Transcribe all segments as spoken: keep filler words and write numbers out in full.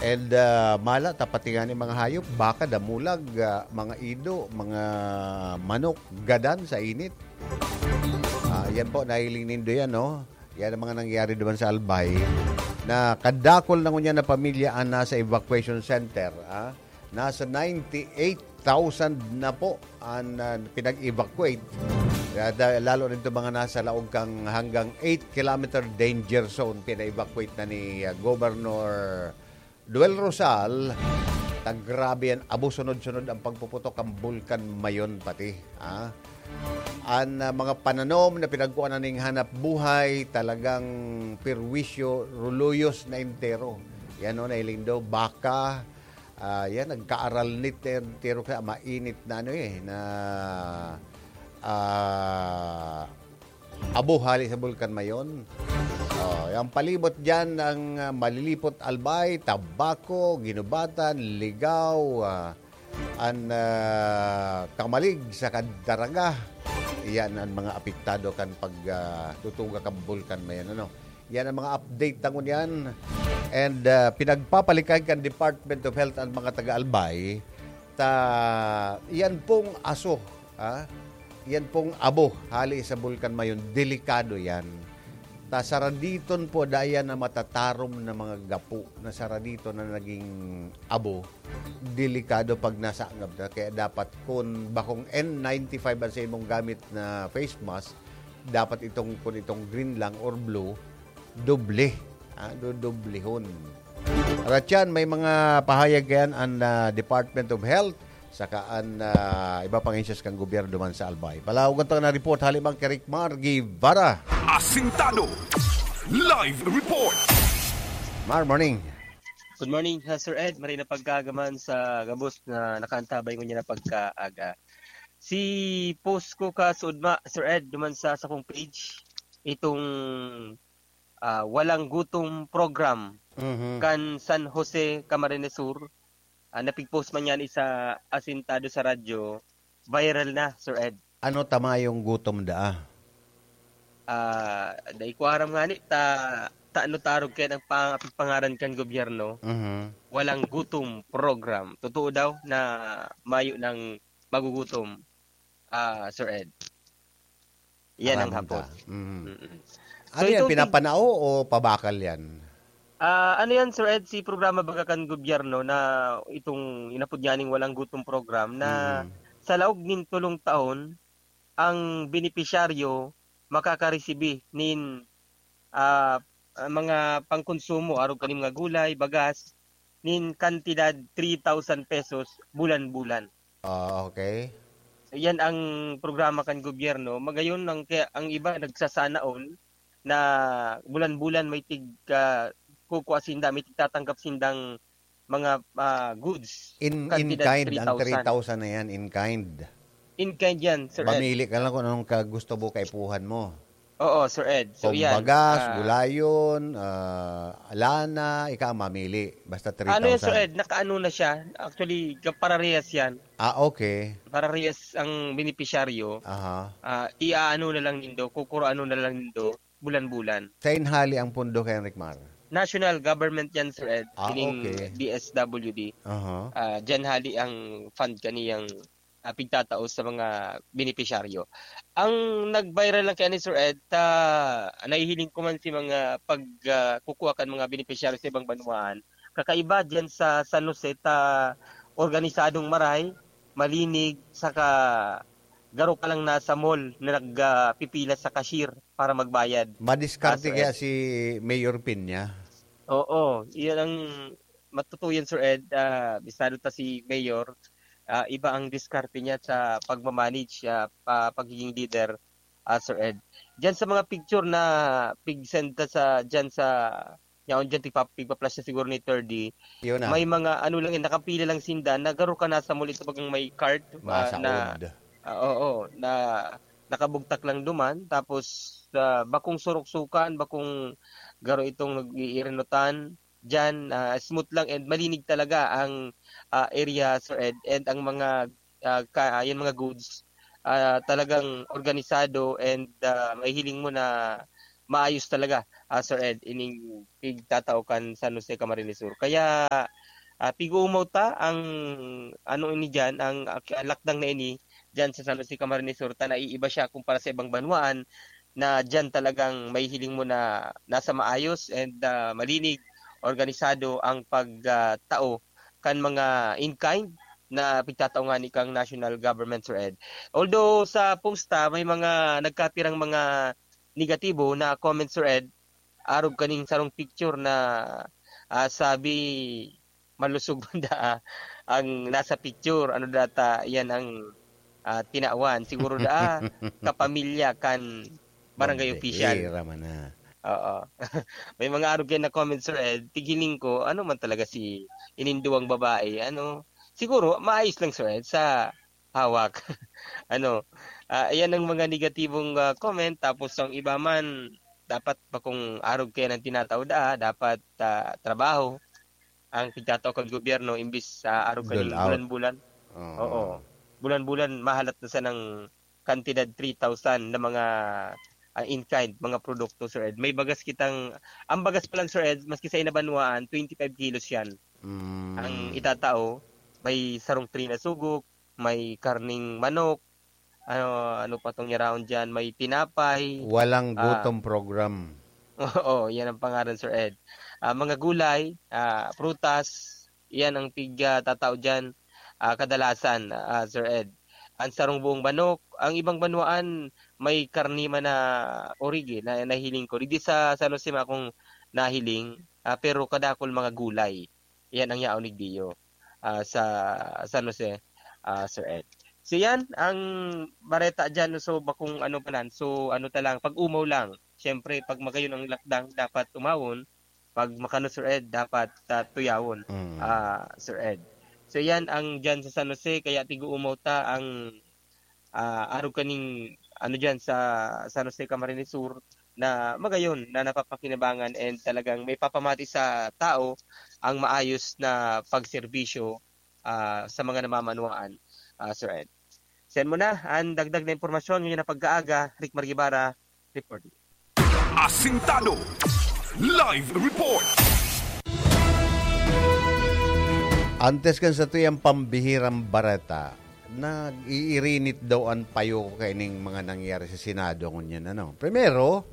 And, ah, mala ta pati ngani mga hayop, baka, damulag, ah, mga ido, mga manok, gadan sa init. Ah, yan po, nahiling nindo yan, no? Yan ang mga nangyari duman sa Albay, na kadakol na ngunyan na pamilya ang nasa evacuation center, ah. Nasa ninety-eight thousand na po ang, ah, pinag-evacuate. Kaya da-, lalo rin itong mga nasa laog kan hanggang eight kilometer danger zone, pina-evacuate na ni, ah, Governor Duel Rosal. Ta grabe yan, abo sunod-sunod ang pagpuputok kan Bulkan Mayon pati, ah. An, ah, mga pananom na pinagkuhanan ning hanap buhay, talagang perwisyo, ruluyos na entero. Yan, no, nahiling do, baka, ah, yan, nagkaaralnit na entero kaya mainit na ano eh, na, ah, abo hali sa Bulkan Mayon. Oh, yung palibot diyan ang, ah, Malilipot, Albay, Tabaco, Guinobatan, Ligao, ah, an, ah, Camalig sa Daraga. Iyan ang mga apektado kan pag, ah, tutuga kan Bulkan Mayon, ano. Yan ang mga update na ngunyan. And, ah, pinagpapalikay kan Department of Health ang mga taga-Albay. Ta, yan pong aso, ha? Yan pong abo, hali sa Bulkan Mayon, delikado yan. Ta saraditon po, daya na matatarom na mga gapo, na saraditon na naging abo, delikado pag nasangab na. Kaya dapat kung bakong N ninety-five ang sa imong gamit na face mask, dapat itong, kung itong green lang or blue, doble. Ah, dodoblehon. Ratyan, may mga pahayag yan ang, ah, Department of Health, saka ang, ah, iba pang agencies kan gobyerno man sa Albay. Palawag ang na report, hali man kay Rick Mar Guevara. Asintado. Live report. Mar, morning. Good morning, ha, Sir Ed. Maray na pagkaagaman sa gabos na nakaantabay ngunyan na pagkaaga. Si post ko ka, Sudma, Sir Ed, duman sa sakong page, itong, ah, Walang Gutom program Mhm. kan San Jose, Camarines Sur. Ah, napigpost man yan sa Asintado sa radyo, viral na, Sir Ed. Ano ta mayong gutom daa? Ah, dai ko aram ngani ta, ta ano ta arog kaya ang pang-, pangaran kan gobyerno. Mhm. Walang gutom program. Totoo daw na mayo ng magugutom, ah, Sir Ed. Yan ang Aram hapot. ta. Mhm. Mm-mm. So, Ano yan, itong tig- pinapanao o pabakal yan? Ah, ano yan, Sir Ed, si programa baga kan gobyerno na itong inapod niya ning Walang Gutom program na Mhm. sa laog nin tulong taon, ang benepisyaryo makakaresibi nin, ah, ah, mga pangkonsumo, arog kaning mga gulay, bagas, nin kantidad three thousand pesos bulan-bulan. Ah, okay. So, yan ang programa kan gobyerno. Magayon, ang, kaya ang iba nagsasana all na bulan-bulan may tig, ah, kukua sinda, may tigtatanggap sindang mga, ah, goods, In, in kantidad kind, ang three thousand. three thousand na yan, in kind. In kind yan, Sir Ed. Mamili ka lang kung anong ka-, gusto mo, kaipuhan mo. Oo, Sir Ed. So, Kung yan, bagas, ah, gulayon, ah, lana, ika ang mamili. Basta Ano yan, Sir three thousand. Ed? Nakaano na siya? Actually, kaparehas yan. Ah, okay. Parehas ang benepisyaryo. Aha. Ah, iaano na lang nindo, kukuroano na lang nindo, bulan-bulan. Sain hali ang pondo kay Enric Mar? National government yan, Sir Ed. Ah, Kining okay. D S W D. Aha. Ah, diyan hali ang fund kaniyang, ah, pigtatao sa mga benepisyaryo. Ang nag-viral lang kaya ni Sir Ed, ta, nahihiling ko man si mga pag, ah, kukuha kan mga benepisyaryo sa ibang banwaan. Kakaiba diyan sa San Jose, ta, organisadong maray, malinig, saka garo ka lang nasa mall na nag, ah, pipila sa cashier para magbayad. Madiskarte Ah, Sir kaya Ed. si Mayor Peña? Oo, iyan ang matutuyan, Sir Ed. Ah, bistado ta si Mayor. Ah, iba ang diskarte niya sa pagmamanage, ah, pa-, pagiging leader, ah, Sir Ed. Diyan sa mga picture na pig-send ta sa, diyan sa, yaon diyan, tigpa-, pigpa-flash na siguro ni Third D. Yun na. May mga ano lang, eh, nakapila lang sinda, na garo ka nasa mall, ito bagang may cart, ah, na, Masaod. ah, oo, na nakabugtak lang duman, tapos sa bakong suruksukan, bakong garo itong nag-iirinutan, diyan, ah, smooth lang and malinig talaga ang, ah, area, Sir Ed, and ang mga, ah, ka-, ah, yung mga goods, ah, talagang organisado and, ah, mahihiling mo na maayos talaga, ah, Sir Ed, ining pigtatao kan San Jose, Camarines Sur. Kaya, ah, pig-uumaw ta ang ano ini diyan, ang ak-, lakdang na ini diyan sa San Jose, Camarines Sur, ta naiiba siya kumpara sa ibang banwaan na diyan talagang mahihiling mo na nasa maayos and, ah, malinig, organisado ang pag, ah, tao kan mga in-kind na pigtatao ngani kan national government, Sir Ed. Although sa post ta, may mga nagkapirang mga negatibo na comment, Sir Ed, arog kaning sarong picture na, ah, sabi, malusog man daa ang nasa picture. Ano data, yan ang, ah, tinawan. Siguro daa, kapamilya kan barangay Bombehera official. Man na. Oo. May mga arog yan na comment, Sir Ed. Tighiling ko, ano man talaga si ining duwang babae, ano? Siguro, maayos lang, Sir Ed, sa hawak. Ano, ah, ayan ang mga negatibong, ah, comment. Tapos ang iba man, dapat pa kung arog kaya ng tinatao daa, dapat, ah, trabaho ang pigtatao kan gobyerno imbis sa arog kaning Dole out. Bulan-bulan. Oo. Oo. Bulan-bulan, mahalat na sanang kantidad three thousand na mga, ah, in-kind, mga produkto, Sir Ed. May bagas kitang, ang bagas pa lang, Sir Ed, maski sa inabanwaan, twenty-five kilos yan. Mm. Ang itatao, may sarong tray na sugok, may karning manok, ano, ano pa tong yaraon diyan, may tinapay. Walang Ah. gutom program. Oo, yan ang pangaran, Sir Ed. Ah, mga gulay, ah, prutas, yan ang pig, ah, tatao diyan, ah, kadalasan, ah, Sir Ed. Ang sarong buong manok, ang ibang banwaan, may karne man na origi na nahiling ko. Digdi sa San Jose man akong nahiling, ah, pero kadakul mga gulay. Yan ang yaon ni Dio, ah, sa San Jose, ah, Sir Ed. So yan ang bareta dyan. So bakong ano pa lang. So ano ta lang, pag-umaw lang. Siyempre, pag magayon ang lakdang, dapat umawon. Pag makano, Sir Ed, dapat, ah, tuyawon, Mm. ah, Sir Ed. So yan ang dyan sa San Jose. Kaya tig-uumaw ta ang, ah, arog kaning ano dyan sa San Jose, Camarines Sur na magayon na napapakinabangan and talagang may papamati sa tao ang maayos na pagserbisyo, ah, sa mga namamanwaan, ah, Sir Ed. Send mo na ang dagdag na impormasyon ngayon na pagkaaga, Rick Margibara, reporting. Asintado. Live report. Antes kan sa tuyang pambihirang bareta, nag-iirinit daw an payo ko kaining mga nangyari sa Senado ngunyan, ano. Primero,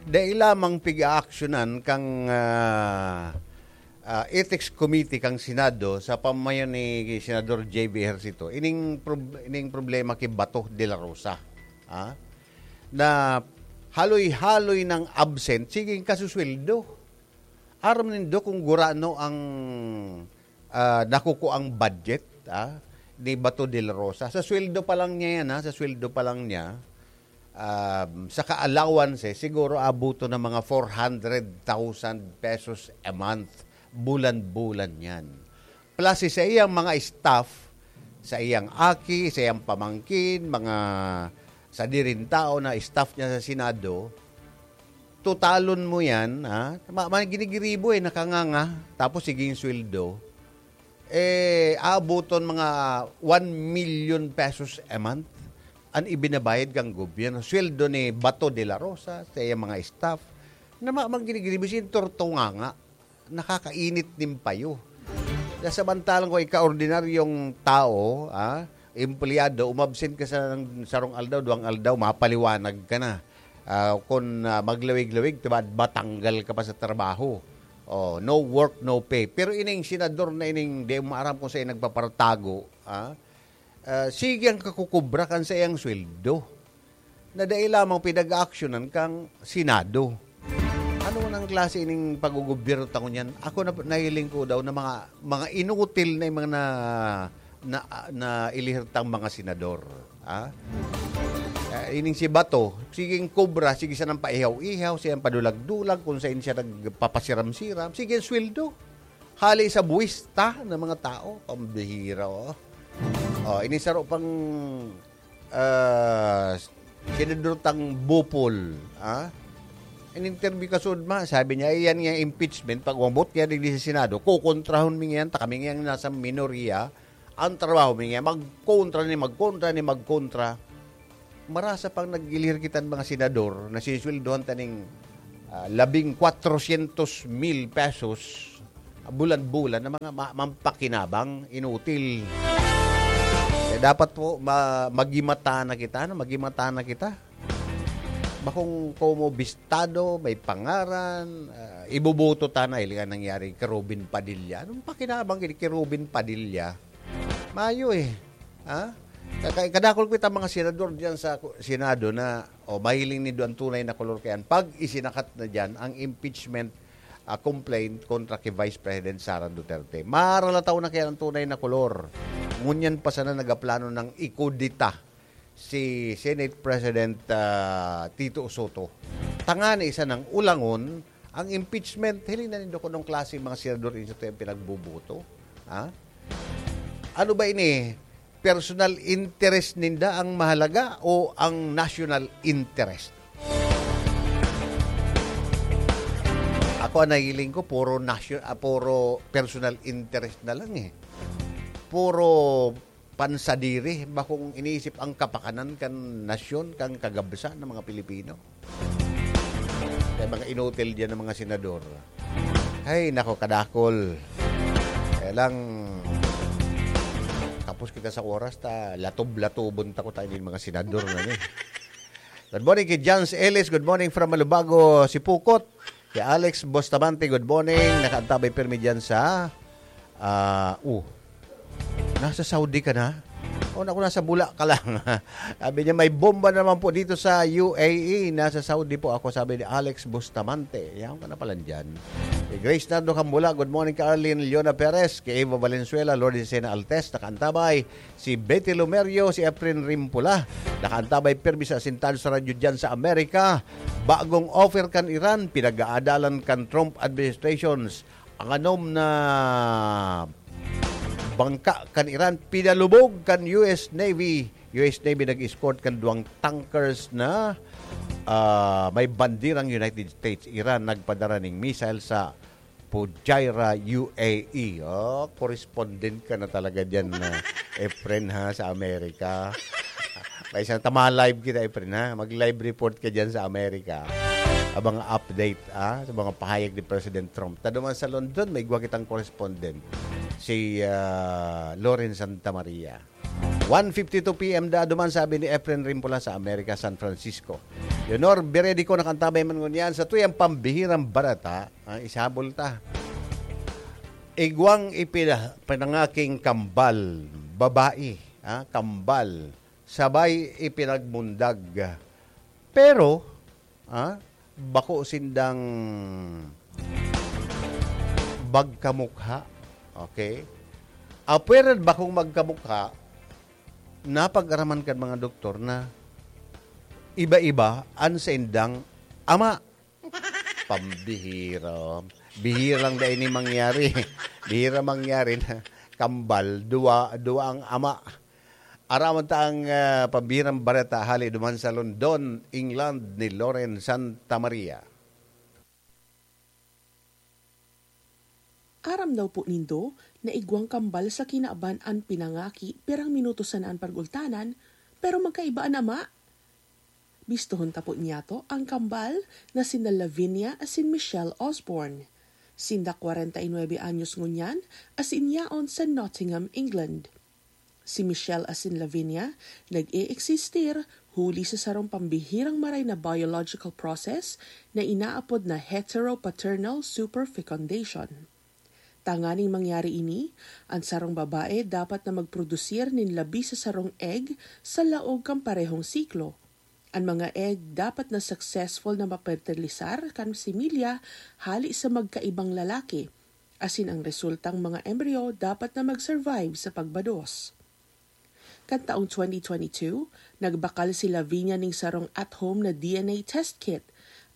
dai lamang pig-aaksyonan kang, ah, ah, Ethics Committee kang Senado sa pamayo ni Senador J B Ejercito. Ining prob-, ining problema ki Bato de la Rosa, ah, na haloy-haloy nang absent, sige, kasusweldo. Aram nindo kung gurano ang, ah, nakukuang budget, ah, ni Bato de la Rosa. Sa sweldo pa lang niya yan, ha? Sa sweldo pa lang niya, um, sa ka-allowance, eh, siguro abuto ng mga four hundred thousand pesos a month, bulan-bulan yan. Plus, sa iyang mga staff, sa iyang aki, sa iyang pamangkin, mga sadiring tao na staff niya sa Senado, totalon mo yan, ha? Ma-, ma-, ginigiribo eh, nakanganga, tapos sige yung sweldo. Eh, aabuton mga one million pesos a month an ibinabayad kang gobyerno. Sweldo ni Bato de la Rosa, sa iyang mga staff, na ma-, ma-, ginigiribo, sinturtunganga. Nakakainit nin payo. Na samantalang kung ikaordinaryong tao, ah, empleyado, umabsent ka sa sarong aldaw, duwang aldaw, mapaliwanag ka na. Ah, kung, ah, maglawig-lawig, diba, matanggal ka pa sa trabaho. Oh, no work, no pay. Pero ining senador na ining di mo aram kung saan nagpapartago, ah, ah, sige ang kakukubra kan sa iyang sweldo na dai lamang pinag-aaksyonan kang Senado. Ano nang klase ining paggugobyerno ta ngunyan? Ako na, nahiling ko daw na mga, mga inutil na yung mga na, na, na ilihirtang mga senador. Ha? Ah, ining si Bato, siging kobra, sige sanang paihaw-ihaw, siyang padulag-dulag, kung saan siya nagpapasiram-siram, sige ang sweldo. Hali sa buwis ta ng mga tao, pambihira, oh. Oh, ini saro pang, ah, senador tang Bopol, ah? In-interview ka sud ma, sabi niya, "Iyan nga impeachment, pag umabot niya digdi sa Senado, kukontrahon mi ngayon, ta kami ngayon nasa minorya, ang trabaho mi ngayon, magkontra ni magkontra ni magkontra." Marasa pang nagilihir kitang mga senador na sinisweldohan ta ning ah, labing kwatrosyentos mil pesos bulan-bulan na mga ma-, mampakinabang, inutil. Kaya dapat po ma-, magimata na kita, no? Magimata na kita. Bakong komo bistado, may pangaran, ah, iboboto ta na, hiling an nangyari kay Robin Padilla. Anong pakinabang gini kay Robin Padilla? Mayo eh. Ha? Kaka-, kadakol ko itang mga senador diyan sa ku-, Senado na, o, mahiling nindo an tunay na kolor kayan. Pag isinakat na diyan ang impeachment, ah, complaint kontra kay Vice President Sara Duterte. Maralataw na kayan ang tunay na kolor. Ngunyan pa sana nagaplano ng ikudeta si Senate President, ah, Tito Soto. Tangani sana ulangon ang impeachment. Hiling na nindo kung anong klase mga senador ini sa tuyang pinagboboto. Ha? Ano ba ini? Personal interest ninda ang mahalaga o ang national interest? Ako, ang nahiling ko, puro nasyo-, ah, puro personal interest na lang eh. Puro pansadiri, bakong iniisip ang kapakanan kan nasyon, kan kagabsan ng mga Pilipino. Kaya mga inutil diyan ng mga senador. Ay, nako, kadakol. Kaya lang, tapos kita sa oras, ta, latob-latobon ta ko tayo ng mga senador na ni. Good morning kay Jans Ellis. Good morning from Malubago, Sipocot. Kay Alex Bustamante, good morning. Nakaantabay pirmi diyan sa, ah, uh, nasa Saudi ka na? O, naku, nasa Bula ka lang. Sabi niya, "May bomba naman po dito sa U A E. Nasa Saudi po ako," sabi ni Alex Bustamante. Yan ka na pala dyan. Kay Grace Nardo Cambula, good morning kay Arlene Leona Perez, kay Eva Valenzuela, Lourdes Sena Altes, nakaantabay. Si Betty Lumerio, si Efren Rimpula, nakaantabay pirmi sa asintado sa radyo diyan sa Amerika. Bagong offer kan Iran, pinag-aadalan kan Trump administrations. Ang anom na bangka kan Iran, pinalubog kan U S Navy. U S Navy nag-escort kan duwang tankers na, ah, may bandirang United States. Iran nagpadara ning missile sa Fujairah, U A E. Oh, correspondent ka na talaga diyan, ah, Efren, ha, sa Amerika. May isang tama live kita, Efren, ha? Mag-live report ka diyan sa Amerika. Abang update, ah, sa mga pahayag ni President Trump. Ta duman sa London, may igwa kitang correspondent, si, ah, Loren Santa Maria. One fifty-two P M da duman, sabi ni Efren Rimpula sa Amerika, San Francisco. Leonor Beredico, nakantabay man ngunyan sa tuyang pambihirang bareta, ah, isabol ta. Igwang ipina-, pinangaking kambal, babae, ah, kambal, sabay ipinagmundag. Pero, ah, bako sindang magkamukha. Okay? Apwera bakong magkamukha, napag-araman kan mga doktor na iba-iba an saindang ama. Pambihira. Bihirang dai ni mangyari. Bihira mangyari na kambal, duwa, duwa ang ama. Araman ta ang, ah, pambihirang bareta hali duman sa London, England, ni Loren Santa Maria. Aram daw po nindo na igwang kambal sa kinaban an pinangaki, pirang minuto sana an pag-ultanan, pero magkaiba an ama. Bistohon ta po niyato ang kambal na sina Lavinia asin Michelle Osborne. Sinda kwarenta y nuebe anyos ngunyan, asin yaon sa Nottingham, England. Si Michelle asin Lavinia nag-e-eksistir huli sa sarong pambihirang maray na biological process na inaapod na heteropaternal superfecundation. Tanganing mangyari ini, an sarong babae dapat na magprodusir nin labi sa sarong egg sa laog kan parehong siklo. An mga egg dapat na successful na mapertilisar kan similya hali sa magkaibang lalaki, asin ang resultang mga embryo dapat na mag-survive sa pagbados. Kan taong twenty twenty-two, nagbakal si Lavinia ning sarong at-home na D N A test kit,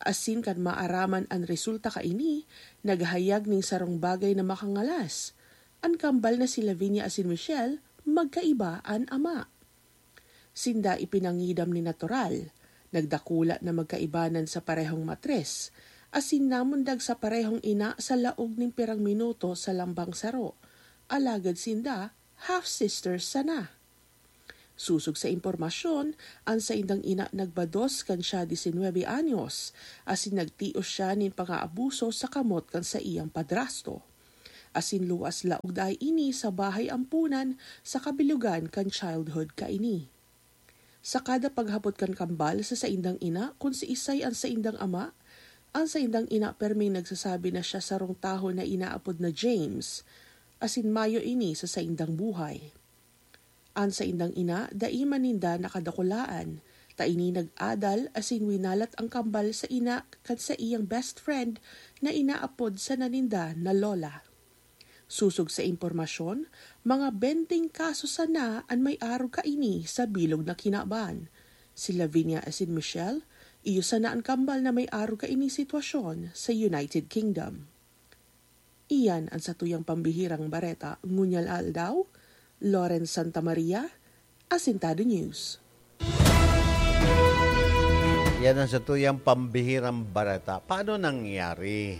asin kan maaraman an resulta kaini, naghayag ning sarong bagay na makangalas. An kambal na si Lavinia asin Michelle, magkaiba an ama. Sinda ipinangidam nin natural. Nagdakula na magkaibanan sa parehong matres, asin namundag sa parehong ina sa laog nin pirang minuto sa lambang saro, alagad sinda half-sisters sana. Sosog sa impormasyon, an saindang ina nagbados kan siya disinwebe anyos, asin nagtios siya nin pangaabuso sa kamot kan saiyang padrasto. Asin luwas laog daay ini sa bahay ampunan sa kabilugan kan childhood kaini. Sa kada paghapot kan kambal sa saindang ina kun siisay an saindang ama, an saindang ina perming nagsasabi na siya sarong tawo na inaapod na James, asin mayo ini sa saindang buhay. An saindang ina, dai man ninda nakadakulaan, ta ini nag-adal asin winalat an kambal sa ina kan saiyang best friend na inaapod sana ninda na Lola. Sosog sa impormasyon, mga benteng kaso sana an may arog kaini sa bilog na kinaban. Si Lavinia asin Michelle, iyo sana an kambal na may arog kaini sitwasyon sa United Kingdom. Iyan an satuyang pambihirang bareta ngunyan aldaw. Lawrence Santa Maria, Asintado News. Yan ang satuyang pambihirang bareta. Paano nangyari?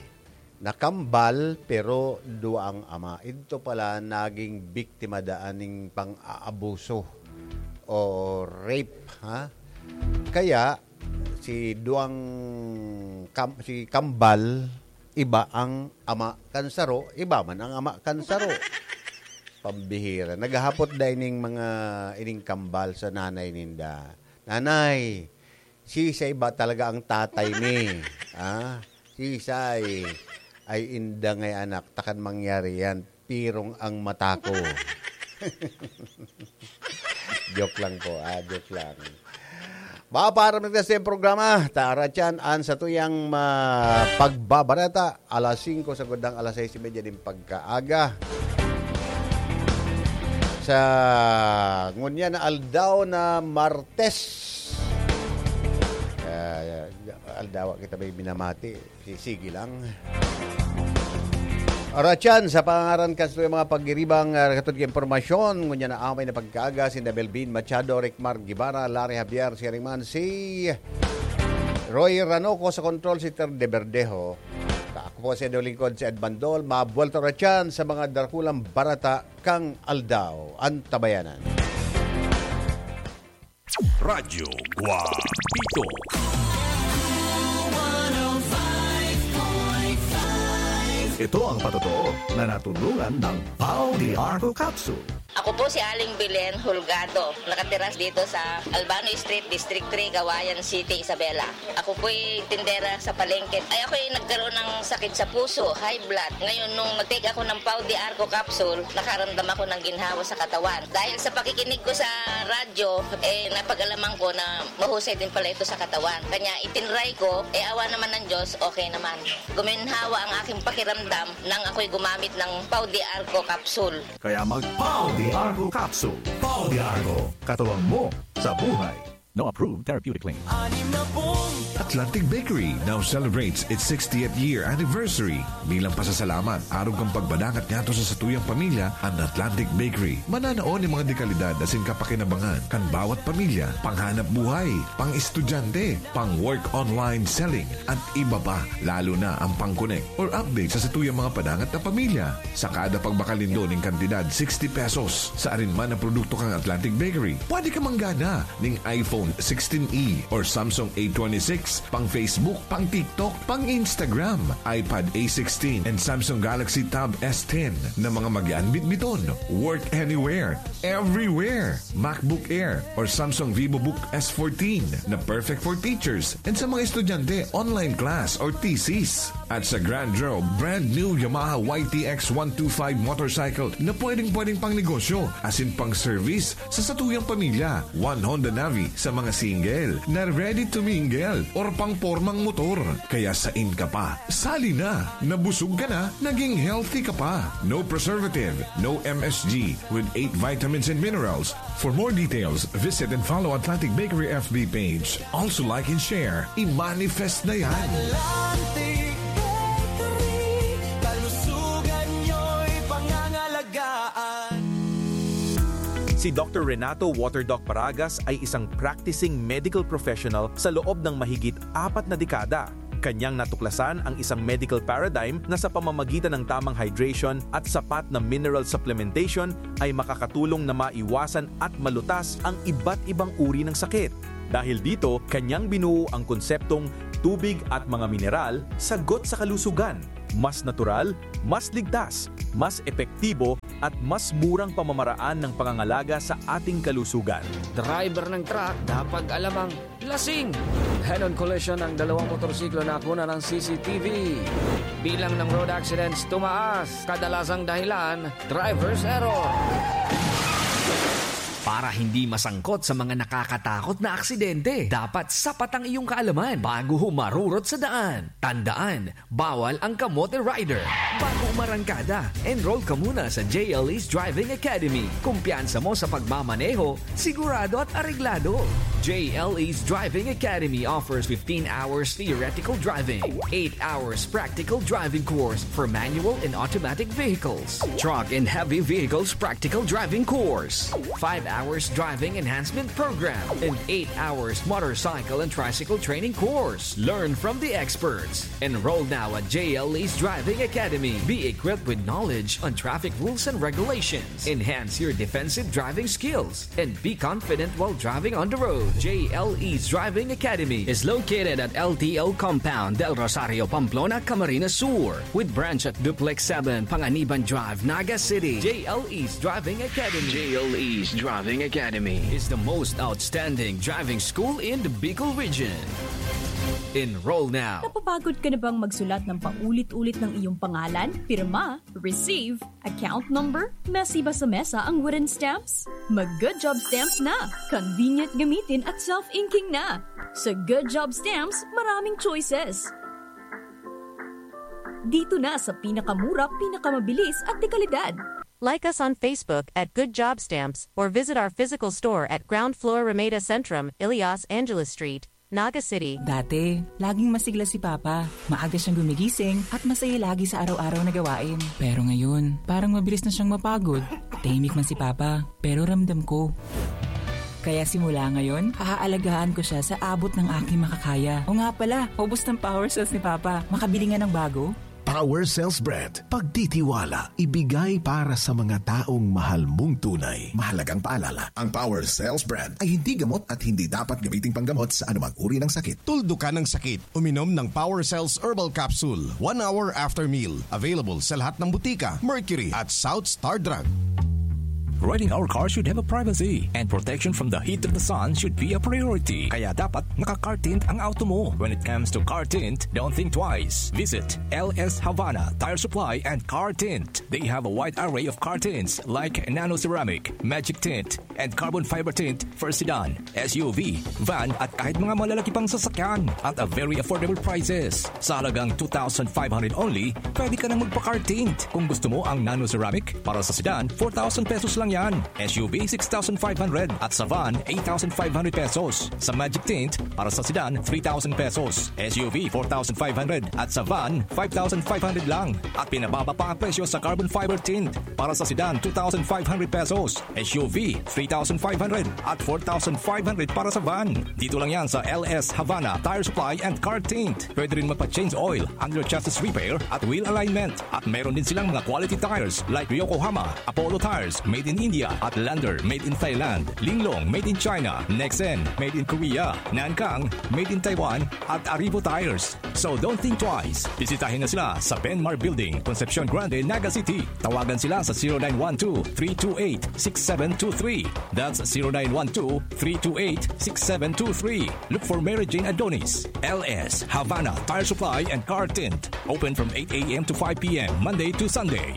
Nakambal, pero duwa ang ama. Ito pala naging biktima daan ning pang-aabuso o rape, ha? Kaya, si duwang kam, si kambal, iba ang ama kan saro, iba man ang ama kan saro. Pambihira. Naghahapot da ining mga, ining kambal sa nanay ninda. "Nanay, sisay ba talaga ang tatay mi? Ah, sisay?" "Ay, inda ngay anak, takan mangyari yan. Pirong ang mata ko." Joke lang po, ah, joke lang. Mapaparam na sa programa, Taratyan, an satuyang ma-, pagbabareta, alas singko sa gudang alas sais y media nin pagkaaga. Sa ngunyan na aldaw na Martes, ah, aldaw kita may minamati. Si-, sige lang. Oratyan, sa pangaran kan satuyang mga pagiribang, ah, katod ka impormasyon, ngunyan na amay na pagkaaga, sinda Melvin Machado, Ricmar Guevara, Larry Javier, siring man si Roy Ranoco sa kontrol, si Ter de Verdejo. Ako po si Edo Lingkod, si Ed Bandol. Mabuwelta oratyan sa mga darakulang barata kang aldaw, an tabayanan. Radyo Guapito. Ito ang patotoo na natulungan ng Pau de Arco Capsule. Ako po si Aling Belen Holgado, nakatira dito sa Albano Street, District three, Cauayan City, Isabela. Ako po'y tindera sa palengke. Ay, ako'y nagkaroon ng sakit sa puso, high blood. Ngayon, nung nag-take ako ng Pau de Arco capsule, nakaramdam ako ng ginhawa sa katawan. Dahil sa pakikinig ko sa radyo, eh, napag-alaman ko na mahusay din pala ito sa katawan. Kanya itinry ko, eh, awa naman ng Diyos, okay naman. Guminhawa ang aking pakiramdam nang ako'y gumamit ng Pau de Arco capsule. Kaya mag Pau de Arco capsule. Pau de Arco, katuwang mo sa buhay. No approved therapeutic claim. Atlantic Bakery now celebrates its sixtieth year anniversary. Bilang pasasalamat, arog kan pagpadangat ngadto sa satuyang pamilya, an Atlantic Bakery mananao nin mga dekalidad asin kapakinabangan kan bawat pamilya, panghanap buhay, pang-estudyante, pang-work online selling, at iba pa, lalo na ang pang-connect or update sa satuyang mga padangat na pamilya. Sa kada pagbakal nindo nin kantidad sixty pesos sa arin man na produkto kan Atlantic Bakery, pwede ka manggana ning iPhone sixteen E or Samsung A twenty-six, pang Facebook, pang TikTok, pang Instagram, iPad A sixteen, and Samsung Galaxy Tab S ten na mga magian bitbiton. Work anywhere, everywhere. MacBook Air or Samsung VivoBook S fourteen na perfect for teachers and sa mga estudyante, online class or thesis. At sa Grand Draw, brand new Yamaha Y T X one two five motorcycle na pwedeng-pwedeng pang negosyo, asin pang service sa satuyang pamilya. One Honda Navi sa mga single na ready to mingle or pang pormang motor. Kaya sain ka pa? Sali na! Nabusog ka na, naging healthy ka pa. No preservative, no M S G, with eight vitamins and minerals. For more details, visit and follow Atlantic Bakery F B page. Also like and share. I-manifest na yan! Atlantic Bakery, kalusugan nyo'y pangangalagaan. Si Doktor Renato Waterdoc Paragas ay isang practicing medical professional sa loob ng mahigit apat na dekada. Kanyang natuklasan ang isang medical paradigm na sa pamamagitan ng tamang hydration at sapat na mineral supplementation ay makakatulong na maiwasan at malutas ang iba't ibang uri ng sakit. Dahil dito, kanyang binuo ang konseptong tubig at mga mineral, sagot sa kalusugan. Mas natural, mas ligtas, mas epektibo, at mas murang pamamaraan ng pangangalaga sa ating kalusugan. Driver ng truck, dapat alam ang lasing. Head-on collision ng dalawang motorsiklo na nakuna ng C C T V. Bilang ng road accidents tumaas, kadalasang dahilan, driver's error. Para hindi masangkot sa mga nakakatakot na aksidente, dapat sapat ang iyong kaalaman bago humarurot sa daan. Tandaan, bawal ang kamote rider. Bago umarangkada, enroll ka muna sa J L E's Driving Academy. Kumpiyansa mo sa pagmamaneho, sigurado at areglado. J L E's Driving Academy offers fifteen hours theoretical driving, eight hours practical driving course for manual and automatic vehicles, truck and heavy vehicles practical driving course, five hours driving enhancement program, and eight hours motorcycle and tricycle training course. Learn from the experts. Enroll now at J L E's Driving Academy. Be equipped with knowledge on traffic rules and regulations. Enhance your defensive driving skills and be confident while driving on the road. J L E's Driving Academy is located at L T O Compound, Del Rosario, Pamplona, Camarines Sur, with branch at Duplex seven, Panganiban Drive, Naga City. J L E's Driving Academy. J L E's Driving Academy is the most outstanding driving school in the Bicol region. Enroll now. Napapagod ka na bang magsulat ng paulit-ulit ng iyong pangalan, pirma, receive, account number, mesi ba sa mesa ang wooden stamps? Mag Good Job Stamps na! Convenient gamitin at self-inking na! Sa Good Job Stamps, maraming choices. Dito na sa pinakamura, pinakamabilis at dekalidad. Like us on Facebook at Good Job Stamps or visit our physical store at ground floor Ramada Centrum, Elias Angeles Street, Naga City. Dati, laging masigla si Papa. Maaga siyang gumigising at masaya lagi sa araw-araw na gawain. Pero ngayon, parang mabilis na siyang mapagod. Tahimik man si Papa, pero ramdam ko. Kaya simula ngayon, aalagaan ko siya sa abot ng aking makakaya. O nga pala, ubos ng power cells ni Papa. Makabili nga ng bago? Power Cells Brand. Pagtitiwala, ibigay para sa mga taong mahal mong tunay. Mahalagang paalala, ang Power Cells Brand ay hindi gamot at hindi dapat gamiting panggamot sa anumang uri ng sakit. Tuldukan ang sakit. Uminom ng Power Cells Herbal Capsule one hour after meal. Available sa lahat ng butika, Mercury at South Star Drug. Riding our car should have a privacy, and protection from the heat of the sun should be a priority. Kaya dapat naka-car tint ang auto mo. When it comes to car tint, don't think twice. Visit L S Havana Tire Supply and Car Tint. They have a wide array of car tints like nano ceramic, magic tint, and carbon fiber tint for sedan, S U V, van, at kahit mga malalaki pang sasakyan at a very affordable prices. Sa halagang two thousand five hundred only, pwede ka nang magpa-car tint. Kung gusto mo ang nano ceramic, para sa sedan, four thousand pesos lang yan. S U V, six thousand five hundred, at sa van, eight thousand five hundred pesos. Sa magic tint, para sa sedan, three thousand pesos. S U V, four thousand five hundred, at sa van, five thousand five hundred lang. At pinababa pa ang presyo sa carbon fiber tint. Para sa sedan, two thousand five hundred pesos. S U V, three thousand five hundred at four thousand five hundred para sa van. Dito lang yan sa L S Havana Tire Supply and Car Tint. Pwede rin magpa-change oil, under chassis repair at wheel alignment. At meron din silang mga quality tires like Yokohama, Apollo Tires, made in India, at Lander, made in Thailand, Linglong, made in China, Nexen, made in Korea, Nankang, made in Taiwan, at Arrivo Tires. So don't think twice. Bisitahin na sila sa Benmar Building, Concepcion Grande, Naga City. Tawagan sila sa zero nine one two, three two eight, six seven two three. That's zero nine one two, three two eight, six seven two three. Look for Mary Jane Adonis, L S Havana Tire Supply and Car Tint. Open from eight a m to five p m, Monday to Sunday.